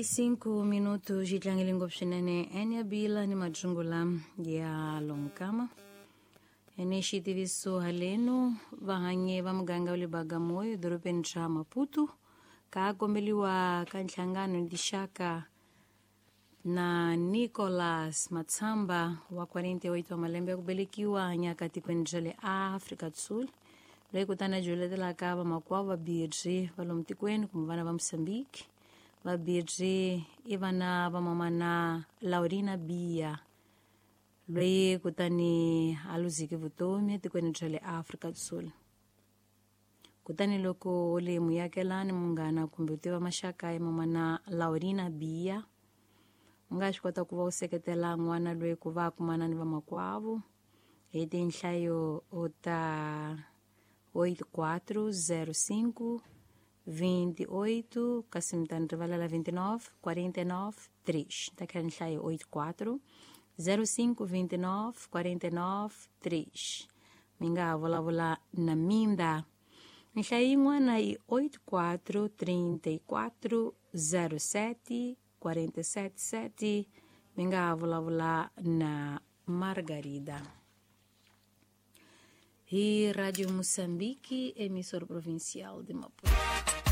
5 minutos yi tlangele ngopfu swinene ene bila ni majungula ya lonkama ene xitiviso haleno vahanyi va muganga wa le Bagamoyo dorobeni ra Maputo ka kombeliwa ka nhlangano ni tixaka na Nicolas Matsamba wa 48 wa malembe ya ku velekiwa hanyaka tikweni ra le Afrika do Sul loyi kutani a joletelaka vamakwavo va Birji va lomu tikweni kumbe vana va Mozambique. Va Birji i vana va mamana Laurina Bia loyi kutani a luzeke vutomi etikweni ra le Afrika do Sul. Kutani loko u le muakelani, munghana kumbe u tiva maxaka ya mamana Laurina Bia, u nga swi kota ku va u seketela n'wana loyi ku va a kumana ni vamakwavo hi tinhlayo ta 8405 28, kasi mi ta ni rivalela, 29 49 3. Ta kha nhlayo 84 05 29 49 3. Mi nga ha vulavula na Minda. Nhlayo yin'wana i 84 34 07 47 7. Mi nga ha vulavula na Margarida. Hi Radio Moçambique, emissora provincial de Maputo.